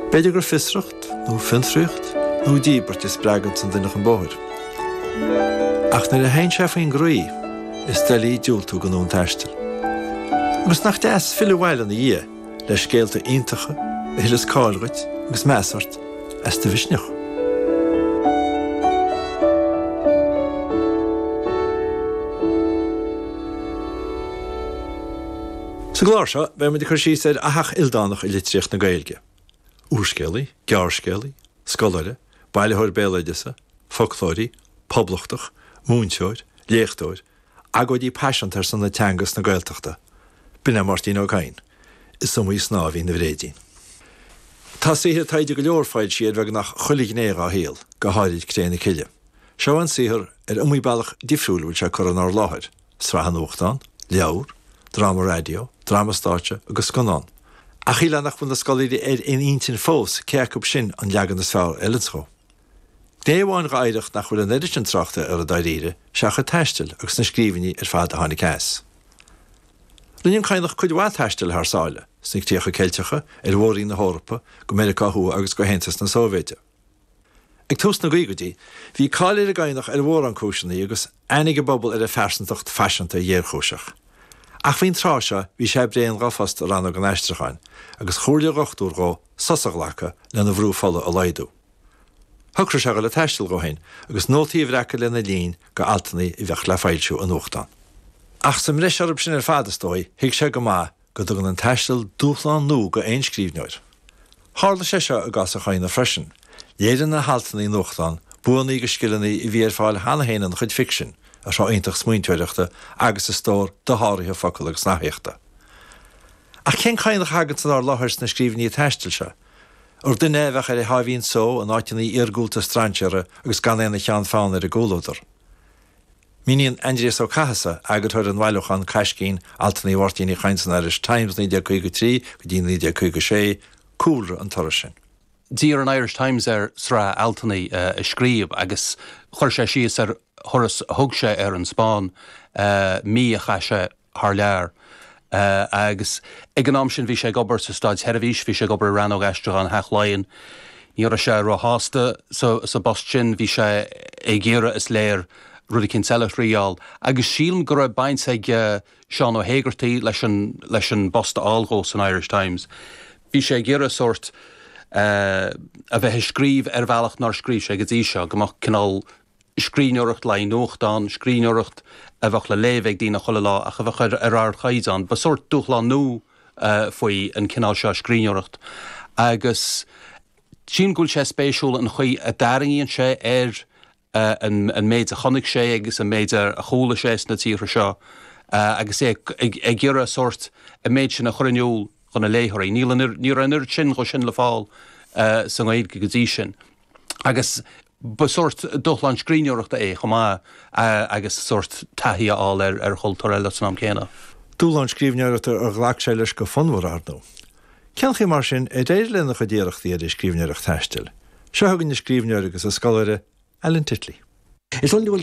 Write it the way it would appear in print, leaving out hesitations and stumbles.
B'fhéidir gur fiosracht, nó fiontraíocht, nó díbirt a spreaganns an duine chun bóthair. Ach nuair a théann sé faoin gcroí, is doiligh diúltú don fhonn taistil. Agus nach deas filleadh abhaile ina dhiaidh le scéalta iontacha a thuilleas cáil dhuit agus meas ort as do mhisneach. Sa gclár seo, beidh muid ag cur síos ar fhathach ildánach i litríocht na Gaeilge. Úrscéalaí, gearrscéalaí, scoláire, bailitheoir béaloideasa, foclóirí, poblachtach, múinteoir, léachtóir, agóidí paiseanta ar son na teanga is na Gaeltachta, b'in é Máirtín Ó Cadhain. Is iomaí snáth a bhí ina bhréidín. Tá saothair taighde go leor foilsithe ar bheagnach chuile ghné dhá shaol, go háirid Cré na Cille. Seo an saothar ar iomaí bealach difriúil a bhfuil sé curtha inár láthair. sraith nuachtán, leabhar, dráma raidió, dráma stáitse agus scannán. Ach shílfeá nach bhfuil na scoláirí ar aon intinn fós cé acu sin an leagan is fearr a fheileanns dhó. Gné amháin dha oidhreacht nach bhfuil an oiread sin tráchta uirthi dáiríre is ea a chuid taistil agus na scríbhinní ar fad a tháinig as. Rinne an Cadhnach cuid mhaith taistil thar sáile, sna críocha Ceilteacha, ar mhór-roinn na hEorpa, go Meiriceá Thuaidh agus go hAontas na Sóivéide. Ag tús na gcaogaidí, bhí cáil ar an gCadhnach ar mhórán cúiseanna agus aithne ag an bpobal ar a phearsantacht phaiseanta ghéarchúiseach. Ach faoin tráth seo, bhí sé bréan dhá phost i Rannóg an Aistriúcháin, agus chomhairligh a dhochtúir dhó sos a ghlacadh lena bhrú fola a laghdú. Shocraigh sé a dhul ag taisteal dhó féin agus nótaí a bhreacadh lena linn go altanna a bheadh le foilsiú i nuachtán. Ach sa mbreis orthu sin ar fad, is dóigh, thuig sé go maith go dtugann an taisteal dúshlán nua go aon scríbhneoir. Tharla sé seo i gcás an Chadhnaigh freisin. Léiríonn a haltanna i nuachtán buanna agus scileanna a bhí ar fáil cheana féin ina chuid ficsin, a shruth iontach smaointeoireachta agus a stór dosháraithe focal agus nathaíochta. Ach cén Cadhnach a thaganns inár láthair sna scríbhinní taistil seo? Ar duine é a bheadh ar a sháimhín só in áiteanna iargúlta strainséartha agus gan é ina cheann feadhna ar an gcomhluadar? Míníonn Aindrias Ó Cathasaigh, eagarthóir an bhailiúcháin Caiscín, altanna Mháirtín Uí Chadhain san Irish Times 1953 go dtí 1956, cúlra an turais sin. D'iarr an Irish Times air sraith altanna a scríobh agus chuir sé síos ar thuras a thug sé ar an Spáinn, mí a chaith sé thar lear. Agus ag an am sin bhí sé ag obair sa Státsheirbhís, bhí sé ag obair i Rannóg Aistriúcháin Theach Laighean. Ní raibh sé róshásta sa bpost sin, bhí sé ag iarraidh, is léir, rud eicínt eile a thriáil. Agus sílim go raibh baint ag Seán Ó hÉigeartaigh leis an leis an bpost a fháil dhó san Irish Times. Bhí sé ag iarraidh sórt a bheith ag scríobh ar bhealach nár scríobh sé go dtí seo, go mbeadh cineál scríbhneoireacht le haghaidh nuachtán, scríbhneoireacht a bheadh le léamh ag daoine chuile lá ach a bheadh ar ardchaighdeán. Ba sórt dúshlán nua faoi an cineál seo scríbhneoireacht agus sílim go bhfuil sé spéisiúil an chaoi a dtarraingíonn sé ar an méid a chonaic sé agus an méid a chuala sé sna tíortha seo agus é ag iarraidh sórt an méid sin a chur in iúl do na léitheoirí. Níl an, ní raibh an oiread sin dhó sin le fáil sa nGaeilge go dtí sin. Agus ba sórt dúshlán scríbhneoireachta é chomh maith agus sórt taithí a fháil ar chultúr eile san am céanna. Dúshlán scríbhneoireachta ar ghlac sé leis go fonnmhar, ar ndóigh. Cén chaoi mar sin ar éirigh lena chuid iarrachtaí ar an scríbhneoireacht taistil? Seo chugainn an scríbhneoir agus an scoláire, Alan Titley. Is iondúil.